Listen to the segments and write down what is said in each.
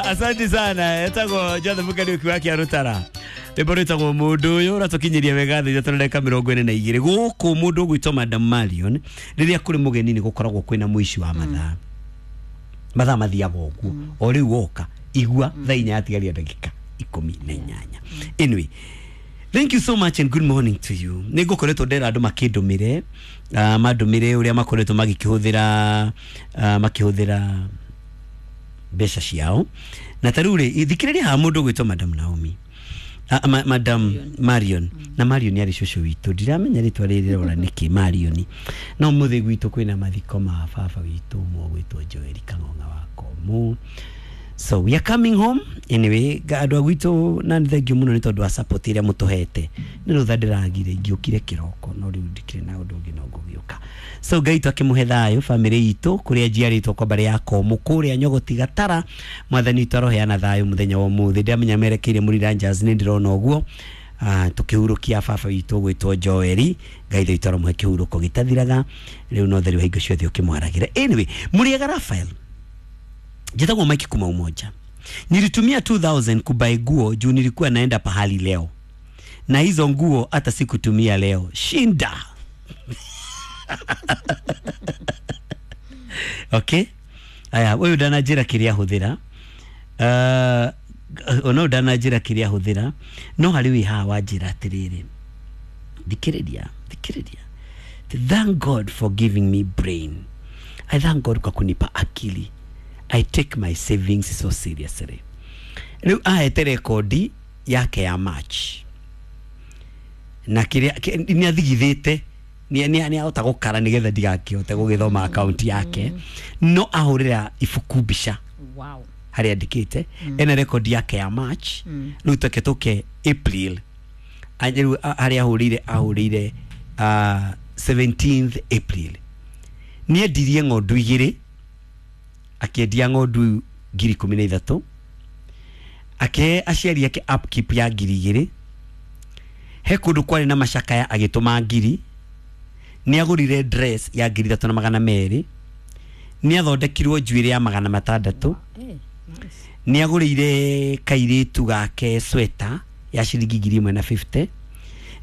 Asante sana. Etagwo Joseph Kariuki wa Kĩarũtara. Rwĩmbo rwĩtagwo mũndũ ũyũ ũratũkinyĩria wega thaa ithatũ na ndagĩka 42. Gũkũ mũndũ ũgwĩtwo Madam Marion, rĩrĩa kũrĩ mũgeni nĩ gũkoragwo kwĩna mũici wa mathaa. Mathaa mathiaga ũguo. O rĩu woka, igua thaa 4 yatigaria ndagĩka 18. Anyway, thank you so much and good morning to you. Nĩ ngũkoretwo ndera andũ makĩndũmĩre, mandũmĩre ũrĩa makoretwo magĩkĩhũthĩra, makĩhũthĩra mbeca ciao. Na ta rĩu rĩ, thikĩrĩria haha mũndũ ũgwĩtwo Madam Naomi. Madam Marion. Na Marion arĩ cũcũ witũ. Ndiramenya rĩtwa rĩrĩ rĩrora nĩkĩ Marion. No mũthĩ gwitũ kwĩna mathiko ma baba witũ ũmwe ũgwĩtwo Joel Kang'ong'a wa Komũ. So we are coming home. Anyway, andũ a gwitũ na nĩ thengiũ mũno nĩ tondũ wa support ĩrĩa mũtũhete. Nĩ rũtha ndĩragire ingĩũkire kĩroko no rĩu ndikĩrĩ na ũndũ ũngĩ no ngũgĩũka. So Ngai witũ akĩmũhe thayũ family itũ kũrĩa njiarĩtwo kwa mbarĩ ya Komũ kũrĩa Nyogoti Gatara. Mwathani witũ aroheana thayũ mũthenya wa ũmũthĩ. Ndĩramenya merekeire Mũriranjas nĩ ndĩrona ũguo. Tũkĩhurũkia baba witũ ũgwĩtwo Joeli. Ngai witũ aromũhe kĩhurũko gĩtathiraga. Rĩu no theru hingo ciothe ũkĩmwaragĩra. Anyway, mũrĩega Raphael. Njĩtagwo Mike kuma Umoja. Nilitumia 2000 kubuy nguo juu nilikuwa naenda pahali leo. Na hizo nguo hata sikutumia leo. Shinda. Okay. Aya, ũyũ ndananjĩra kĩrĩa ahũthĩra. Ona ũyũ ndananjĩra kĩrĩa ahũthĩra. No harĩ wĩ haha wanjĩra atĩrĩrĩ. Thikĩrĩria, thikĩrĩria. Thank God for giving me brain. I thank God kwa kunipa akili. I take my savings so seriously. Rĩu ahete rekondi yake ya March. Na kĩrĩa nĩ athigithĩte, nĩ ahota gũkara nĩgetha ndigakĩhote gũgĩthoma account yake. No ahũrĩra ibuku mbica. Wow. Harĩa andĩkĩte. Ena rekondi yake ya March. Rĩu tũke tũke April. Rĩu harĩa ahũrĩire, 17th April. Nĩ endirie ng'ondu igĩrĩ. Akĩendia ng'ondu ngiri ikũmi na ithatũ. Akĩhe aciari ake upkeep ya ngiri igĩrĩ. He kũndũ kwarĩ na macakaya agĩtũma ngiri. Nĩ agũrire dress ya ngiri ithatũ na magana merĩ. Nĩ athondekirwo njuĩrĩ ya magana matandatũ. Nĩ agũrĩire kairĩtu gake sweater ya ciringi ngiri ĩmwe na 50.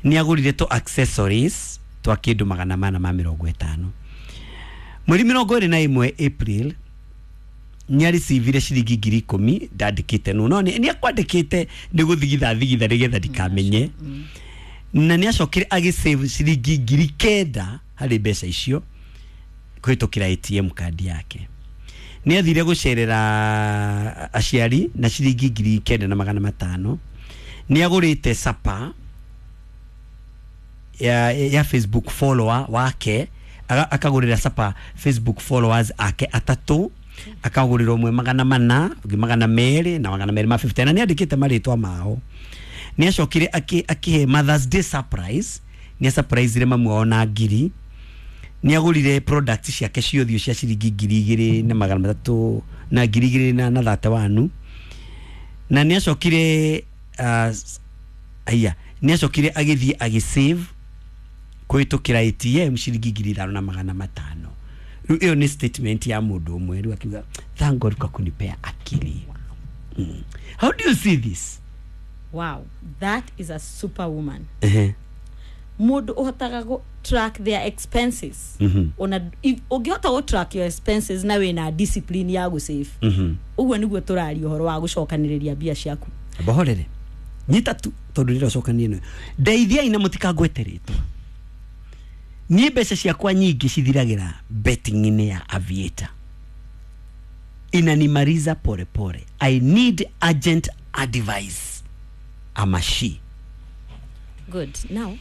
Nĩ agũrire tũ accessories twa kĩndũ magana mana ma mĩrongo ĩtano. Mweri 21 April nĩ arecivire ciringi ngiri ikũmi ndandĩkĩte no no nĩ akwandĩkĩte nĩ gũthigitha thigitha nĩgetha ndikamenye. Na nĩ acokire agĩsave ciringi ngiri kenda harĩ mbeca icio kũhĩtũkĩra ATM card yake. Nĩ athire gũcerera aciari na ciringi ngiri kenda na magana matano. Nĩ agũrĩte sapa ya Facebook follower wake, akagũrĩra sapa Facebook followers ake atatũ. Akagũrĩra ũmwe magana mana, ũngĩ magana merĩ na magana merĩ ma 50. Na nĩ andĩkĩte marĩtwa mao. Nĩ acokire akĩhe Mother's Day surprise. Nĩ surprise-ire mamu wao na ngiri. Nĩ agũrire products ciake ciothe cia ciringi ngiri igĩrĩ na magana matatũ na ngiri igĩrĩ na thate wanu. Na nĩ acokire, aya, nĩ acokire agĩthiĩ agĩsave kũhĩtũkĩra ATM ciringi ngiri ithano na magana matano. Rĩu ĩyo nĩ statement ya mũndũ ũmwe. Rĩu akiuga thank God kwa kunipea akili. How do you see this? Wow, that is a superwoman. Mũndũ ũhotaga gũ track their expenses. Ona ũngĩhota gũ track your expenses na wĩna discipline ya gũ save. Ũguo nĩguo tũraria ũhoro wa gũcokanĩrĩria mbia ciaku. Bohorere. Nyita tu tondũ ndĩrocokania ĩno. Ndeithiai na mũtikangwete rĩtwa. Niĩ mbeca ciakwa nyingĩ cithiragĩra betting-inĩ ya Aviator. Inanimaliza pole pole. I need urgent advice. Ama she. Good. Now,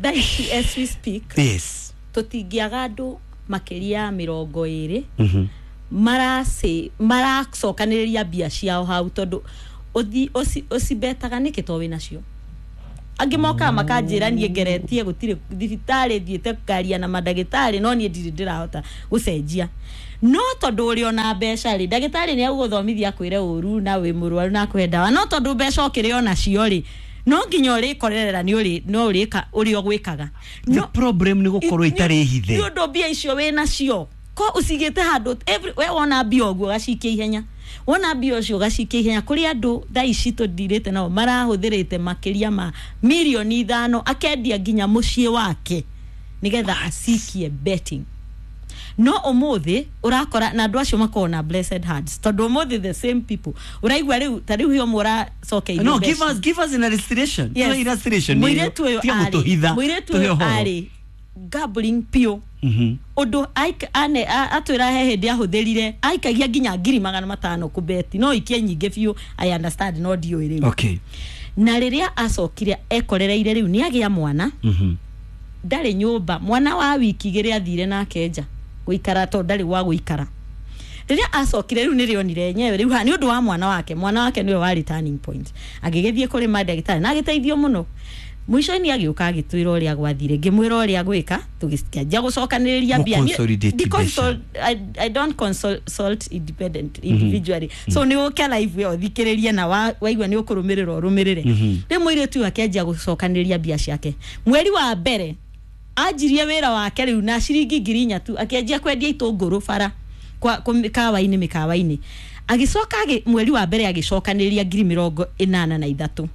that is as we speak. Yes. Tũtingĩaga andũ makĩria mĩrongo ĩrĩ. Maracokanĩrĩria mbia ciao hau tondũ ũcibetaga nĩkĩ to wĩnacio. Angĩ mokaga makanjĩra niĩ ngeretie gũtirĩ thibitarĩ thiĩte kwaria na mandagĩtarĩ no niĩ ndirĩ ndĩrahota gũcenjia. No tondũ ũrĩ ona mbeca rĩ, ndagĩtarĩ nĩ egũgũthomithia akwĩre ũru na wĩ mũrwaru na akũhe ndawa. No tondũ mbeca ũkĩrĩ onacio rĩ, no nginya ũrĩkorerera nĩ ũrĩ, no ũrĩka ũrĩa ũgwĩkaga. The problem nĩ gũkorwo itarĩ hithe. Nĩ ũndũ mbia icio wĩnacio. Ko ũcigĩte handũ every we wona mbia ũguo ũgacikia ihenya, wona mbia ũcio ũgacikia ihenya. Kũrĩ andũ thaa ici tũndirĩte nao marahũthĩrĩte makĩria ma mirioni 5, akendia nginya mũciĩ wake nĩgetha acikie betting. No ũmũthĩ ũrakora na andũ acio makoragwo na blessed hands, tondũ ũmũthĩ the same people ũraigua rĩu ta rĩu hio ũmwe ũracokeirio No, mbeca. give us an illustration. Yes. Yes. Illustration. Mũirĩtu ũyũ Tiga arĩ gũtũhitha. mũirĩtu Tũhe ũyũ ũhoro. arĩ gambling piũ. Ũndũ atwĩra he hĩndĩ ahũthĩrire aikagia nginya 500,000 kũbeti, no ikie nyingĩ biũ, I understand, no ndiũĩ rĩu. Na rĩrĩa acokire ekorereire rĩu nĩ agĩa mwana, ndarĩ nyũmba, mwana wa wiki 2 athire nake nja gũikara tondũ ndarĩ gwa gũikara. Rĩrĩa acokire rĩu nĩrĩonire enyewe rĩu nĩ ũndũ wa mwana wake, mwana wake nĩwe warĩ turning point, agĩgĩthiĩ kũrĩ mandagĩtarĩ na agĩteithio mũno. Mũico-inĩ agĩũka agĩtwĩra ũrĩa gwathire, ngĩmwĩra ũrĩa gwĩka, tũgĩkĩanjia gũcokanĩrĩria mbia. Gũ-consolidate Ndi- I don't consult independent individually, so nĩ ũke live ĩyo ũthikĩrĩrie na waigua nĩ ũkũrũmĩrĩra ũrũmĩrĩre. Rĩu mũirĩtu ũyũ akĩanjia gũcokanĩrĩria mbia ciake. Mweri wa mbere anjirie wĩra wake rĩu na ciringi 4,000 tu, akĩanjia kwendia itũngũrũ bara kwa mĩkawa-inĩ mĩkawa-inĩ. Agĩcoka mweri wa mbere agĩcokanĩrĩria 83,000.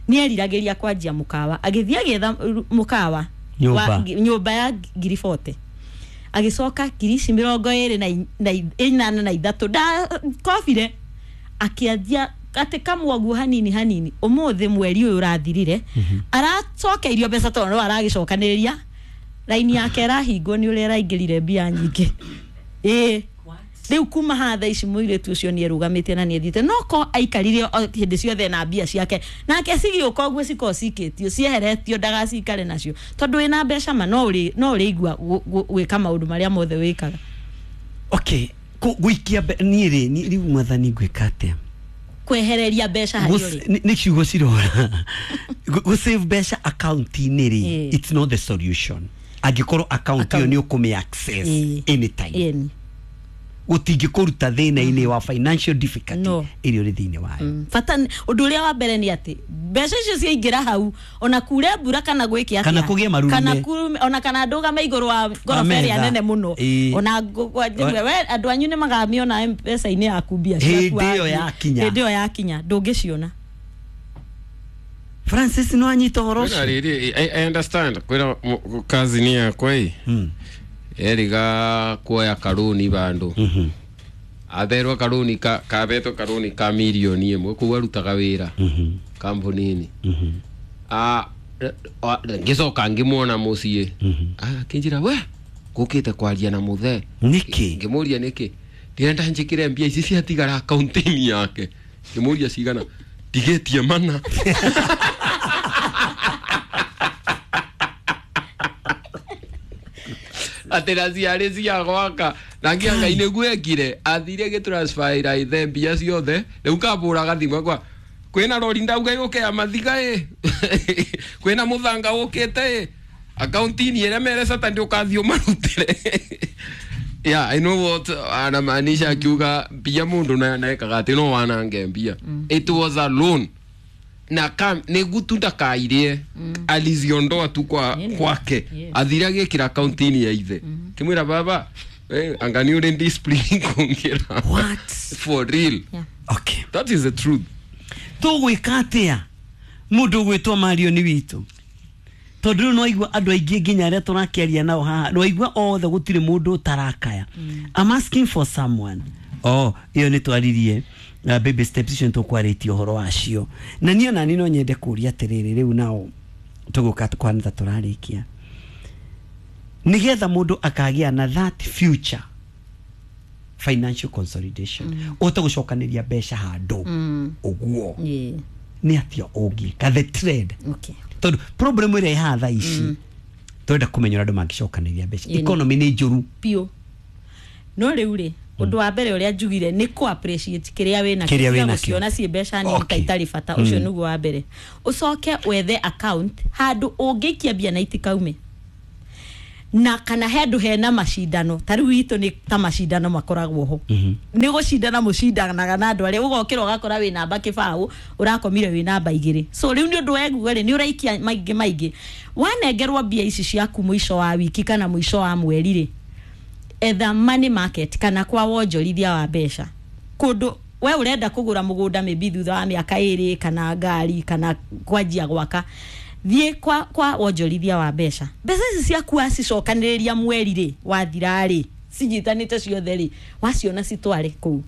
Nĩ eriragĩria kwanjia mũkawa, agĩthiĩ agĩetha mũkawa Nyũmba. Nyũmba ya 40,000. Agĩcoka ngiri ici mĩrongo ĩrĩ na 83 ndakobire, akĩanjia atĩ kamwe ũguo hanini hanini. Ũmũthĩ mweri ũyũ ũrathirire aracokeirio mbeca tondũ no aragĩcokanĩrĩria, raini yake ĩrahingwo nĩ ũrĩa ĩraingĩrire mbia nyingĩ. Ĩĩ, rĩu kuma haha thaa ici mũirĩtu ũcio nĩ erũgamĩte na nĩ ethiĩte, no ko aikarire o hĩndĩ ciothe na mbia ciake nake cigĩũka ũguo cikorwo cikĩtio cieheretio ndagacikare nacio, tondũ wĩna mbeca ma no ũrĩ no ũrĩigua gwĩka maũndũ marĩa mothe wĩkaga. Okay. Gũikia niĩ rĩ, rĩu mwathani ngwĩka atĩa? Kwehereria mbeca harĩ ũrĩ. Nĩ ciugo cirora. Gũ save mbeca account-inĩ rĩ, it's not the solution. Angĩkorwo account ĩyo Account. nĩ ũkũmĩ access anytime. Ĩni. Gũtingĩkũruta thĩna-inĩ wa financial difficulty No. ĩrĩa ũrĩ thĩinĩ wayo. Bata ũndũ ũrĩa wa mbere nĩ atĩ mbeca icio ciaingĩra hau, ona kure mbura kana gwĩke atĩa, Kana kũgĩe marurume. kana kurume, ona kana ndũgame igũrũ wa ngoroba ĩrĩa metha. nene mũno, ona we andũ anyu nĩ magamĩona mbeca-inĩ yaku mbia ciaku. Hĩndĩ ĩyo wathiĩ. yakinya. Hĩndĩ ĩyo yakinya ndũngĩciona. Francis, no anyita ũhoro Kwĩna ũcio? rĩrĩ, I understand kwĩna cousin yakwa ĩ eriga kuoya karũni bandũ, atherwo karũni kabetwo karũni ka mirioni 1 kũu arutaga wĩra kambuni-inĩ. Ngĩcoka ngĩmuona mũciĩ. Akĩnjĩra we ngũkĩte kwaria na mũthee. Nĩkĩ? Ngĩmũria nĩkĩ. Ndĩrenda njĩkĩre mbia ici ciatigara akaunti-inĩ yake. Ngĩmũria cigana, ndigĩtie mana. Atĩ na ciarĩ cia gwaka na ngia Ngai nĩguo ekire, athire gĩtransferĩra ithe mbia ciothe. Rĩu kambũraga thimũ akwa kwĩna rori ndauga yũke ya mathiga ĩ, kwĩna mũthanga ũkĩte ĩ, akaunti-inĩ ĩrĩa mere Saturday ũkathiĩ ũmarutĩre. Yeah, I know what anamaanisha akiuga mbia mũndũ na ekaga atĩ no wanange mbia. It was a loan na nĩguo tu ndakairie, aliziondoa tu kwa kwake. Athire agĩkĩra akaunti-inĩ ya ithe, kĩmwĩra baba, anga nĩ ũrĩ discipline kũngĩra. What? For real. Okay. That is the truth. Tũgwĩka atĩa mũndũ ũgwĩtwo Marioni witũ? Tondũ rĩu nĩwaigua andũ aingĩ nginya arĩa tũrakĩaria nao haha, nĩwaigua othe gũtirĩ mũndũ ũtarakaya. I'm asking for someone. Oh, ĩyo nĩ twaririe baby steps icio, nĩ tũkwarĩtie ũhoro wacio, na niĩ onani no nyende kũria atĩrĩrĩ, rĩu nao tũgũka kwana ta tũrarĩkia, nĩgetha mũndũ akagĩa na that future financial consolidation, ũhote gũcokanĩria mbeca handũ ũguo, nĩ atĩa ũngĩka the trend? Tondũ problem ĩrĩa ĩhaha thaa ici, tũrenda kũmenya ũrĩa andũ mangĩcokanĩria mbeca. Economy nĩ njũru. Biũ. No rĩu rĩ, ũndũ wa mbere ũrĩa njugire nĩ kũ appreciate kĩrĩa wĩna. Kĩrĩa wĩnakĩo. Gũciona ciĩ mbeca nini ta itarĩ bata, ũcio nĩguo wa mbere. Ũcoke wethe account handũ ũngĩikia mbia na itikaume, na kana handũ hena macindano. Ta rĩu itũ nĩ ta macindano makoragwo ho, nĩ gũcindana mũcindanaga na andũ arĩa ũgokĩra ũgakora wĩ namba 0, ũrakomire wĩ namba 2. So rĩu nĩ ũndũ weguo rĩ, nĩ ũraikia maingĩ maingĩ. Wanengerwo mbia ici ciaku mũico wa wiki kana mũico wa mweri rĩ, Etha money market kana kwa wonjorithia wa mbeca kũndũ we ũrenda kũgũra mũgũnda maybe thutha wa mĩaka ĩrĩ kana ngari kana kwanjia gwaka, thiĩ kwa wonjorithia wa mbeca. Mbeca ici ciaku wacicokanĩrĩria mweri rĩ wathira rĩ cinyitanĩte ciothe rĩ waciona citware kũu.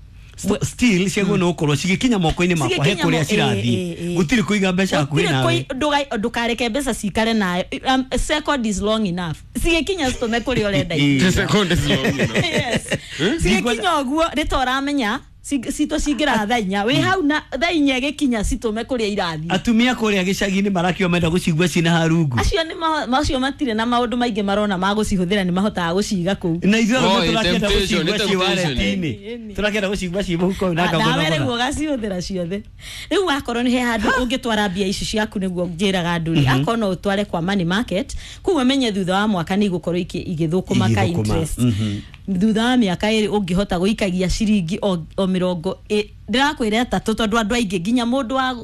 Still ciagwo no gũkorwo cigĩkinya moko-inĩ makwa he Cigĩkinya kũrĩa cirathiĩ. Gũtirĩ kũiga mbeca hakuhĩ Gũtirĩ nawe. Ndũkareke mbeca cikare nawe. Second is long enough, cigĩkinya citũme kũrĩa ũrenda. The second is long enough. Yes. Cigĩkinya ũguo rĩ ta ũramenya citũ cingĩra thaa inya wĩ hau na thaa inya ĩgĩkinya citũme kũrĩa irathiĩ. Atumia kũrĩa gĩcagi-inĩ marakiuga menda gũcigua cina harungu. Acio nĩ macio matirĩ na maũndũ maingĩ marona ma gũcihũthĩra, nĩ mahotaga gũciga kũu. Na ithuĩ Oh, arũme tũrakĩenda temptation, gũcigua nĩ ciĩ temptation. wareti-inĩ. Ĩni. Tũrakĩenda gũcigua ciĩ mũhuko na nawe rĩu ngagũra. ũgacihũthĩra ciothe. Rĩu wakorwo nĩ he handũ ũngĩtwara mbia ici ciaku, nĩguo njĩraga andũ rĩ, akorwo no ũtware kwa money market kũu, ũmenye thutha wa mwaka nĩ igũkorwo igĩthũkũma ka Igĩthũkũma, interest. Thutha wa mĩaka ĩrĩ ũngĩhota gũikagia ciringi o mĩrongo ndĩrakwĩra ĩtatũ, tondũ andũ aingĩ nginya mũndũ wa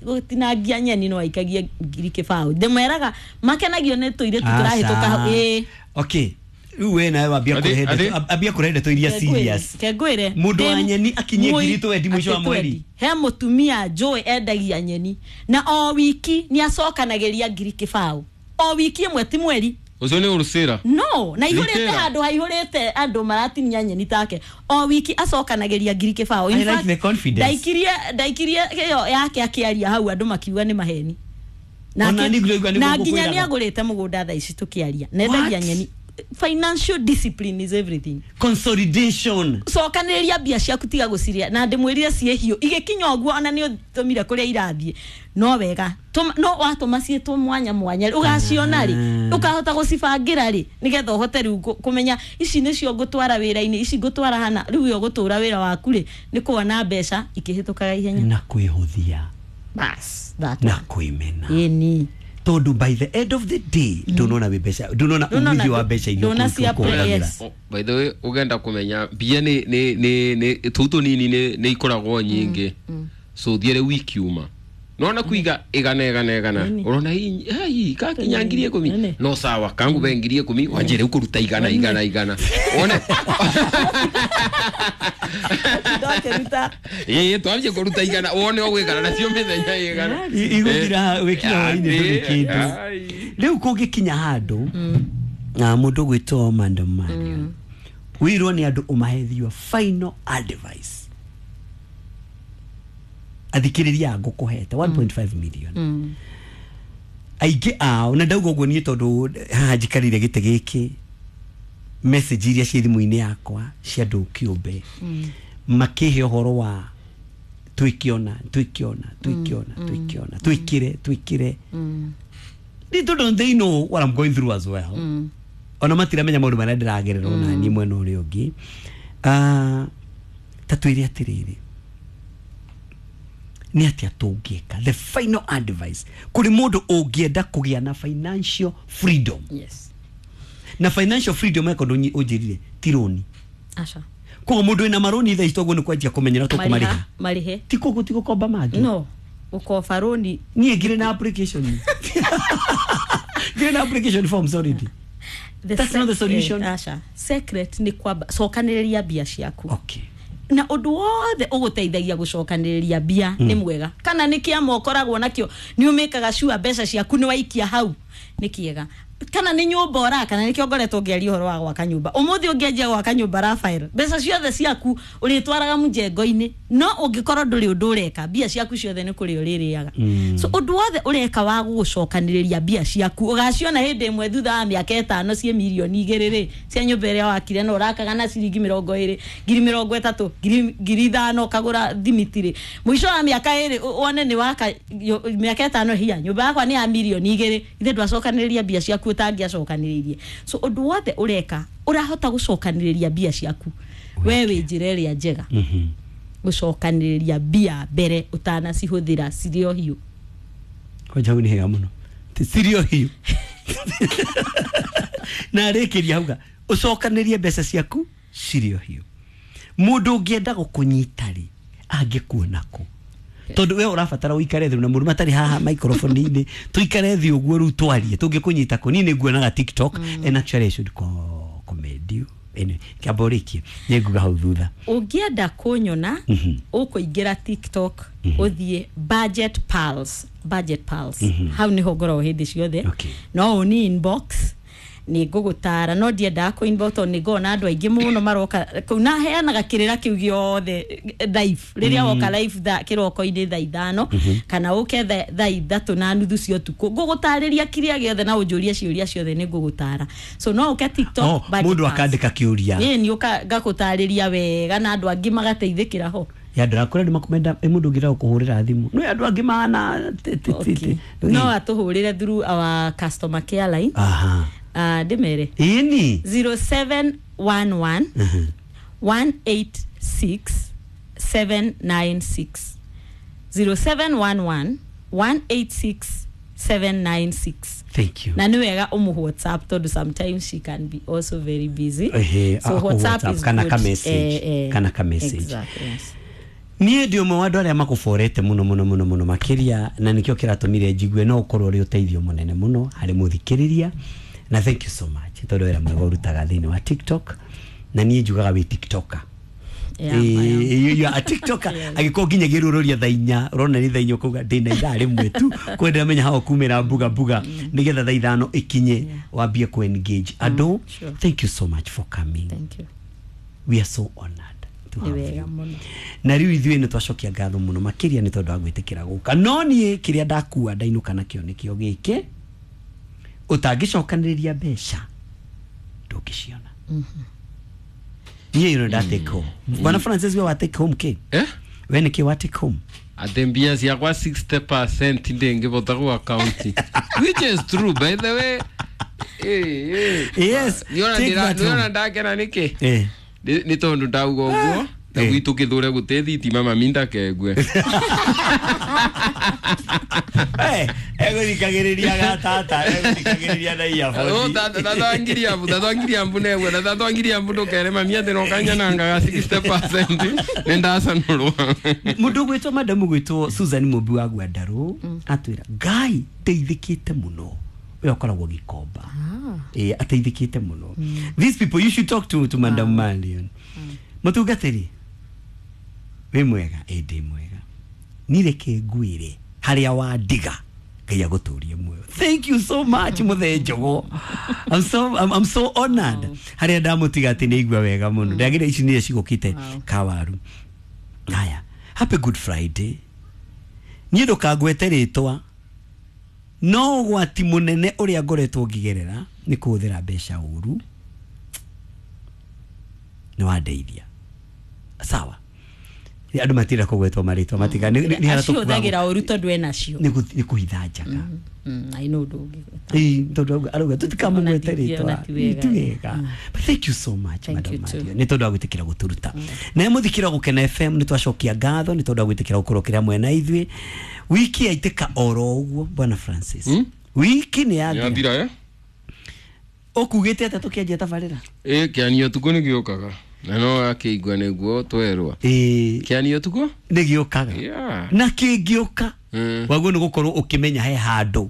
gũtinangia nyeni no aikagie 20,000. Ndĩmeraga makenagio nĩ tũirĩtu tũrahĩtũka hau. Ĩĩ. Okay, rĩu we nawe wambia kũrehe ndeto, ambia kũrehe ndeto iria serious. Kengwĩre. Mũndũ wa nyeni akinyie 20,000 mũico wa Atĩ mweri. twendi. He mũtumia njũĩ endagia nyeni na o wiki nĩ acokanagĩria 20,000 o wiki ĩmwe, ti mweri. Ũcio nĩ ũrũcĩra. No na ihũrĩte Retail. handũ haihũrĩte andũ maratinia nyeni take, o wiki acokanagĩria 20,000. In I like fact, the confidence. Ndaikirie ĩyo yake akĩaria hau andũ makiuga nĩ maheni. Ona niĩ ngũigua nĩguo Na nginya ngũkwĩraga. nĩ agũrĩte mũgũnda thaa ici tũkĩaria, na endagia What? nyeni. Financial discipline is everything. Consolidation. Cokanĩrĩria mbia ciaku, tiga gũciria na ndĩmwĩrire ciĩ hiũ igĩkinya ũguo ona nĩ ũtũmire kũrĩa irathiĩ no wega. No watũma ciĩtwo mwanya mwanya rĩ, ũgaciona rĩ, ũkahota gũcibangĩra rĩ, nĩgetha ũhote rĩu kũmenya ici nĩcio ngũtwara wĩra-inĩ, ici ngũtwara hana. Rĩu we ũgũtũra wĩra waku rĩ nĩ kuona mbeca ikĩhĩtũkaga ihenya. Na kwĩhũthia. Bas, that Na one. kwĩmena. Ĩni. Tondũ by the end of the day ndũnona wĩ mbeca, ndũnona Ndũnona umithio wa mbeca iria ndũna cia ũkũhũthĩra. yes. Oh, by the way, ũgenda kũmenya mbia nĩ tũu tũnini nĩ ikoragwo nyingĩ, so thiĩ rĩu ikiuma nona kuiga igana igana igana, ũrona hii kakinya 10,000. Nene. No sawa, kangube 10,000 wanjie rĩu kũruta igana igana igana wone. Ndakĩruta. Ĩĩ, twambie kũruta igana wone ũgwĩkana nacio mĩthenya igana. Igũthira wĩkinya hwainĩ ndũrĩ kĩndũ. Rĩu kũngĩkinya handũ na mũndũ gwĩtwo Madam Marion wĩrwo nĩ andũ ũmahe your final advice, athikĩrĩria a ngũkũhete 1.5 million aingĩ ao, na ndauga ũguo niĩ tondũ haha njikarire gĩtĩ gĩkĩ, message iria ciĩ thimũ-inĩ yakwa cia andũ kĩũmbe makĩhe ũhoro wa twĩkĩona twĩkĩona twĩkĩona twĩkĩona twĩkĩre twĩkĩre. Little don't they know what I'm going through as well. Ona matiramenya maũndũ marĩa ndĩragerera ona niĩ mwena ũrĩa ũngĩ. Ah, ta twĩre atĩrĩrĩ, nĩ atĩa tũngĩka, the final advice kũrĩ mũndũ ũngĩenda kũgĩa na financial freedom? Yes. Na financial freedom eko ũnjĩrire ti rũni. Aca. Koguo mũndũ wĩna marũni thaa ici toguo nĩ kwanjia kũmenyera tũkũmarĩha. Marĩhe. Ti koguo ti gũkomba mangĩ. No ũkoba rũni. Niĩ ngirĩ na application, ngirĩ na application forms already. That's not the solution. Aca, secret nĩ kwamba cokanĩrĩria mbia ciaku. Na ũndũ wothe ũgũteithagia gũcokanĩrĩria mbia nĩ mwega, kana nĩ kĩama ũkoragwo nakĩo nĩ ũmĩkaga sure mbeca ciaku nĩ waikia hau nĩ kĩega, kana nĩ nyũmba ũraka, na nĩkĩo ngoretwo ngĩaria ũhoro wa gwaka nyũmba. Ũmũthĩ ũngĩanjia gwaka nyũmba, Rafael, mbeca ciothe ciaku ũrĩtwaraga mjengo-inĩ, no ũngĩkorwo ndũrĩ ũndũ ũreka, mbia ciaku ciothe nĩ kũrĩa ũrĩrĩaga. So ũndũ wothe ũreka wa gũgũcokanĩrĩria mbia ciaku, ũgaciona hĩndĩ ĩmwe thutha wa mĩaka 5 ciĩ 2 mirioni rĩ cia nyũmba ĩrĩa wakire, na ũrakaga na ciringi 20, 30,000, 5,000 ũkagũra thimiti rĩ, mũico wa mĩaka 2 wone nĩ waka mĩaka 5 hia nyũmba yakwa nĩ ya 2 mirioni. Ithe ndwacokanĩrĩria mbia ciaku ũtangĩacokanĩrĩirie. So ũndũ wothe ũreka ũrahota gũcokanĩrĩria mbia ciaku, we wĩ njĩra ĩrĩa njega gũcokanĩrĩria mbia mbere ũtanacihũthĩra cirĩ o hiũ. Kwanja hau nĩ hega mũno. Ti cirio hiũ na rĩkĩria hauga ũcokanĩrie mbeca ciaku cirĩ o hiũ. Mũndũ ũngĩenda gũkũnyita rĩ, angĩkuona kũ? Tondũ we ũrabatara ũikare thĩ na mũndũ matarĩ haha microphone-inĩ, tũikare thĩ ũguo rĩu twarie, tũngĩkũnyita kũ? Niĩ nĩ nguonaga TikTok, and actually I should commend you. Anyway, kĩamba ũrĩkie nĩ nguga hau thutha. Ũngĩenda kũnyona, ũkũingĩra TikTok, ũthiĩ Budget Pals, Budget Pals, hau nĩho ngoragwo hĩndĩ ciothe. No ũni inbox nĩ ngũgũtara, no ndiendaga kũ inbox tondũ nĩ ngoragwo na andũ aingĩ mũno maroka kũu, na heanaga kĩrĩra kĩu gĩothe live rĩrĩa woka live kĩroko-inĩ thaa 5 kana ũke thaa 3:30 cia ũtukũ, ngũgũtarĩria kĩrĩa gĩothe na ũnjũrie ciũria ciothe, nĩ ngũgũtara. So no ũke TikTok, Oh, Budget mũndũ Pals. akandĩka kĩũria. Ĩĩ, nĩ ũka ngakũtarĩria wega na andũ angĩ magateithĩkĩra ho. Ya andũ akũrĩa nĩ makumenda ĩ mũndũ ũngĩrega kũhũrĩra thimũ no andũ angĩ mahana No atũhũrĩre through our customer care line. Ndĩmere? Ĩni. 0711 186 796, 0711 186 796. Thank you. Na nĩ wega ũmũ WhatsApp tondũ sometimes she can be also very busy. Ehe, so aku WhatsApp WhatsApp, is kana good. ka message, kana ka message. Exactly, yes. Niĩ ndĩ ũmwe wa andũ arĩa makũborete mũno mũno mũno mũno makĩria, na nĩkĩo kĩratũmire njigue no ũkorwo ũrĩ ũteithio mũnene mũno harĩ mũthikĩrĩria, na thank you so much tondũ wĩra mwega ũrutaga thĩinĩ wa TikTok, na niĩ njugaga wĩ TikToker. Yeah, I am. You are a TikToker. Agĩkorwo nginyagia rũrũria thaa 4, ũrona nĩ thaa 4, ũkauga ndĩna ithaa rĩmwe tu kwenda menya hao kumĩra mbuga mbuga nĩgetha thaa 5 ikinye wambie ku engage andũ. Thank you so much for coming. Thank you. We are so honored to Nĩ have wega you. mũno. Na rĩu ithuĩ nĩ twacokia ngatho mũno makĩria nĩ tondũ wa gwĩtĩkĩra gũka, no niĩ kĩrĩa ndakua ndainũka nakĩo nĩkĩo gĩkĩ: ũtangĩcokanĩrĩria mbeca ndũngĩciona. Niĩ ĩno nda take home. Bwana Francis, we wa take home kĩ? Eh? We nĩkĩ wa take home? Atĩ mbia ciakwa 60% ndĩngĩbota gũ akaunti, which is true, by the way. Yes, take that home. Niona ndakena nĩkĩ? Nĩ tondũ ndauga ũguo na gwitũ kĩthũre gũtĩ thitima, mami ndakengue. Egũthikagĩrĩria gatata, egũthikagĩrĩria na earphone. Tatwangiria mbu, tatwangiria mbu negwe na tatwangiria mbu, ndũkere mami atĩ nokanyanangaga 60% nĩ ndacanũrwo. Mũndũ ũgwĩtwo madamu gwĩtwo Susan Mũmbi wa Gwandarũ atwĩra ngai ndeithĩkĩte mũno, ũyũ akoragwo Gĩkomba. Ĩ ateithĩkĩte mũno. These people you should talk to Madam Marion. Mũtungatĩri wĩ mwega? Ĩ ndĩ mwega. Nireke ngwĩre harĩa wandiga, Ngai agũtũrie muoyo. Thank you so much, mũthee Njogo. I'm so honored harĩa ndamũtiga atĩ nĩ aigua wega mũno. Ndagĩra ici nĩcio cigũkĩte kawaru. Haya, happy Good Friday. Niĩ ndũkangwete rĩtwa, no ũgwati mũnene ũrĩa ngoretwo ngĩgerera nĩ kũhũthĩra mbeca ũru, nĩ wandeithia. Sawa, andũ matirenda kũgwetwo marĩtwa, matiga nĩ harĩa Acihũthagĩra ũru tondũ enacio. Nĩ kũhitha njaga. I know ndũngĩgweta. Ĩĩ, tondũ arauga tũtikamũgwete Ona rĩtwa. ona ti wega. Ti wega. But thank you so much, Thank Madam you too. Mario, nĩ tondũ wa gwĩtĩkĩra gũtũruta na mũthikĩra Gũkena FM. Nĩ twacokia ngatho nĩ tondũ wa gwĩtĩkĩra gũkorwo kĩrĩa mwena ithuĩ. Wiki yaitĩka oro ũguo, bwana Francis. Wiki nĩ yathira. Yathira, eh? Ũkugĩte atĩa tũkĩanjia tabarĩra? Ĩ kĩanio ũtukũ nĩ gĩũkaga na no akĩigua nĩguo twerwa. Ĩĩ. Kĩanio ũtukũ. Nĩ gĩũkaga. Na kĩngĩũka, waguo nĩ gũkorwo ũkĩmenya he handũ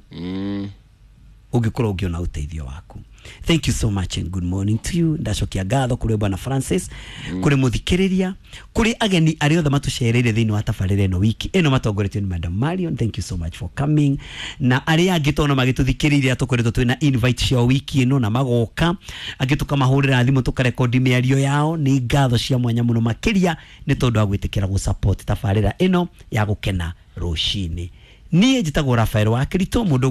ũngĩkorwo ũngĩona ũteithio waku. Thank you so much and good morning to you. Ndacokia ngatho kũrĩ bwana Francis, kũrĩ mũthikĩrĩria, kũrĩ ageni arĩa othe matũcereire thĩinĩ wa tabarĩra ĩno wiki ĩno matongoretio nĩ Madam Marion. Thank you so much for coming. Na arĩa angĩ tona magĩtũthikĩrĩria, tũkoretwo twĩna invite ciao wiki ĩno na magoka, angĩ tũkamahũrĩra thimũ tũkarekondi mĩario yao. Nĩ ngatho cia mwanya mũno makĩria nĩ tondũ wa gwĩtĩkĩra gũsupport tabarĩra ĩno ya Gũkena Rũcinĩ. Niĩ njĩtagwo Rafael wa Kirito. Mũndũ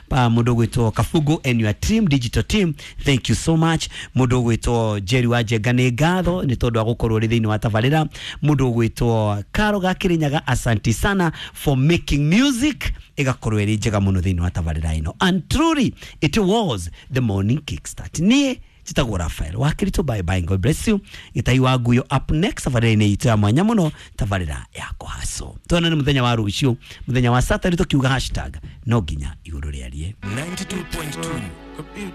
ũgwĩtwo Kabugo and your team, digital team, thank you so much. Mũndũ ũgwĩtwo Jerry wa Njenga, nĩ ngatho nĩ tondũ wa gũkorwo ũrĩ thĩinĩ wa tabarĩra. Mũndũ ũgwĩtwo Karo Gakĩrĩnyaga, asanti sana for making music ĩgakorwo ĩrĩ njega mũno thĩinĩ wa tabarĩra ĩno. And truly it was the Morning Kickstart. Niĩ njĩtagwo Rafael wa Kirito. Bye bye, God bless you. Gĩtai wa Nguyo up next, tabarĩra-inĩ itũ ya mwanya mũno, tabarĩra ya kũhaco. Tuonane mũthenya wa rũciũ, mũthenya wa Saturday, tũkiuga hashtag no nginya igũrũ rĩarie. 92.2.